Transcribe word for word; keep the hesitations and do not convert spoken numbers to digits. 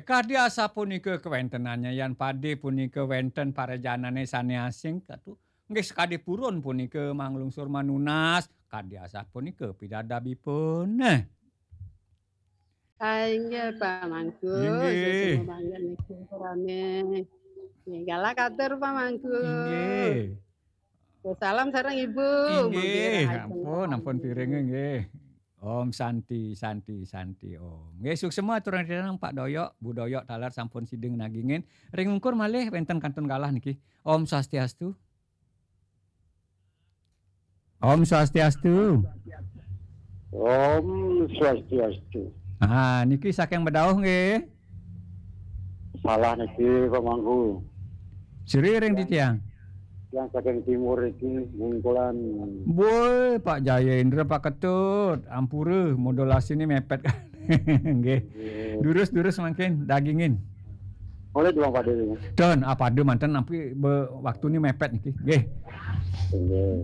Kadi asapunika kawéntenannya yan pade punika wénten parajanané sané asing katu. Nggih sakadi purun punika manglungsur manunas, kadi asapunika pidadabipun. Nah. Ah, inggih Pak Mangku, Inggih. Semua mangga niki rame. Nggih, galah katur Pak Mangku. Inggih. Salam sareng Ibu. Inggih, Mugi rahayu ampun, ampun sami. Piring nggih. Om Santi, Santi, Santi Om. Nggih, suksema aturang Pak Doyok, Bu Doyok taler sampun sida nagingin. Ring ungkur malih wénten kantun galah niki. Om Swastiastu. Om Swastiastu. Om Swastiastu. Ah, niki saking Bedauh nggih. Salah niki Pak Mangku. Sri ring titiang. Yang saking timur iki Bungkulan. Boy, Pak Jayendra, Pak Ketut, ampura modulasi ini mepet. Nggih. Durus-durus mangkin dagingin. Oleh Bang Pade. Don, apa ada manten nampi be, waktu ini mepet niki. Nggih. Nggih.